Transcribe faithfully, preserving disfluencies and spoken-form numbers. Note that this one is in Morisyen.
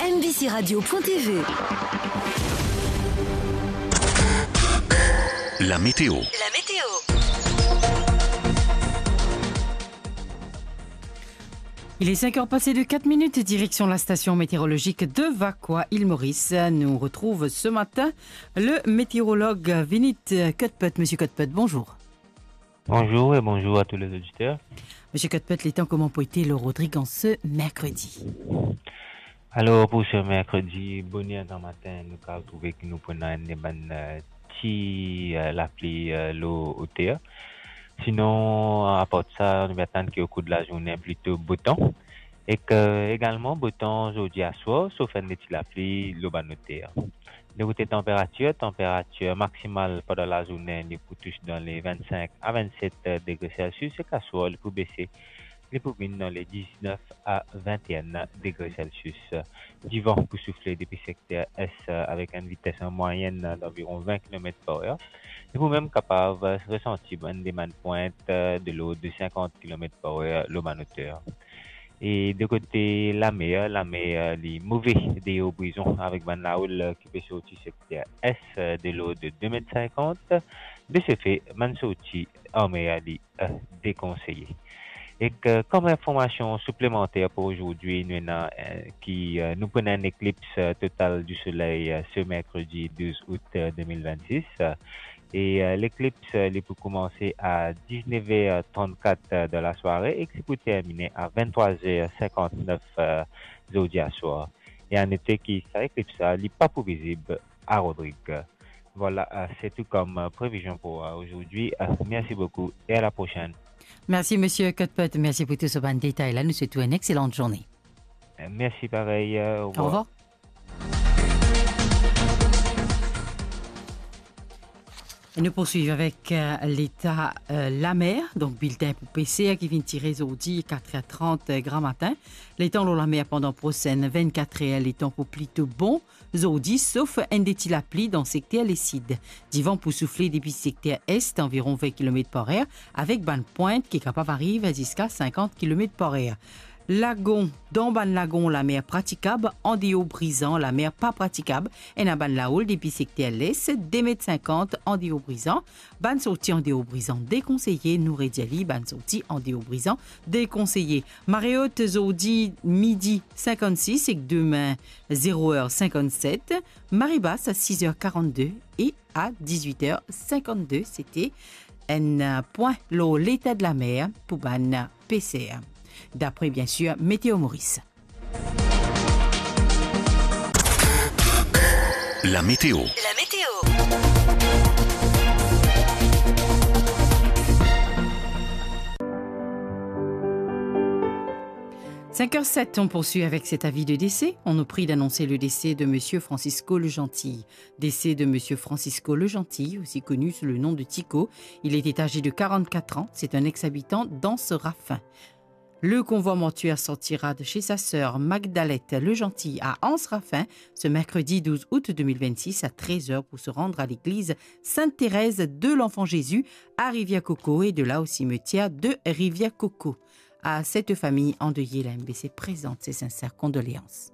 M B C radio point T V. La météo. La météo. Il est cinq heures passées de quatre minutes, direction la station météorologique de Vacoas, île Maurice. Nous retrouve ce matin le météorologue Vinit Kotpet. Monsieur Kotpet, bonjour. Bonjour et bonjour à tous les auditeurs. Monsieur Kotpet, letan kouma pou ete lor Rodrig an se merkredi? Alor, pou se merkredi, boner gramatin, nou kav trouve ki nou pou ena enn bann, eh, ti, eh, lapli, eh, lor oter. Sinon, apar sa, nou pe atann ki o kour de lazourne, plito botan. Ek egalman botan zordi aswar, sof enn ti lapli lor bann oter. De kote tanperatir, tanperatir maksimal pandan lazourne, li pou tous dan le vinn-sink a vinn-set degre Celsius, ek aswar, li pou bese, li pou vinn dan le diznef a vinn-enn degre Celsius. Divan pou soufle depi sekter es avek enn vites an mwayenn danviron vinn kilomet par er. Li pou mem kapav resanti bann, de bann pwint de lord de sinkant kilomet par er lor bann oter. E de kote lamer, lamer li move deor Brizon avek bann laoul ki pe sorti sekter es de lord de de met sinkant. De se fe, bann sorti an mer li, eh, dekonseye. Ek, eh, kom informasion siplemanter pou zordi, nou ena, eh, ki, eh, nou pou ena enn eklips, eh, total di soley, eh, se merkredi douz out, eh, de mil vinn-sis. E, eh, leklips, eh, li pou koumanse a diznef er trannkat, eh, dan lasware ek li pou termine a vinn-trwa er sinkant-nef, eh, zordi aswar. E a note ki sa eklips la, li pa pou vizib a Rodrig. Vwala, eh, se tou kom, eh, previzion pou, eh, zordi. Eh, mersi boukou e a la prosenn. Mersi, Monsieur Kotpet. Mersi pou tou so bann detay la. Nou swet ou enn exselante zourne. Eh, mersi parey. Eh, orevwar. Orevwar. E nou poursuiv avek, eh, leta, eh, lamer. Donk, biltin pou peser ki finn tire zordi, kat er trant, eh, gramatin. Letan lor lamer pandan prosenn vinn-kat er, letan pou plito bon zordi, sof enn de ti lapli dan sekter lesid. Divan pou soufle depi sekter est, anviron vinn kilomet par er, avek bann pwint ki kapav ariv ziska sinkant kilomet par er. Lagon, dan bann lagon, lamer pratikab, andeor Brizon, lamer pa pratikab. Ena bann laoul depi sekter les, de met sinkant, andeor Brizon. Bann sorti andeor Brizon dekonseye, nou redir li, bann sorti andeor Brizon dekonseye. Mare ot zordi midi sinkant-sis ek demin zero er sinkant-set, mare bas a sis er karant-de e a diz-wit er sinkant-de. Sete enn, eh, pwin lor leta de lamer pou bann peser, dapre, bien sir, Météo Maurice. La météo. La météo. Cinq heures sept, on poursuit avec cet avis de décès. On nous prie d'annoncer le décès de monsieur Francisco Legentil. Décès de monsieur Francisco Legentil, aussi connu sous le nom de Tico. Il était âgé de quarante-quatre ans. C'est un ex-habitant d'Anse Raffin. Le convoi mortuaire sortira de chez sa sœur Magdalette Legentil à Anse Raffin ce mercredi douze août deux mille vingt-six à treize heures pour se rendre à l'église Sainte-Thérèse de l'Enfant Jésus à Rivière-Coco et de là au cimetière de Rivière-Coco. À cette famille endeuillée, la M B C présente ses sincères condoléances.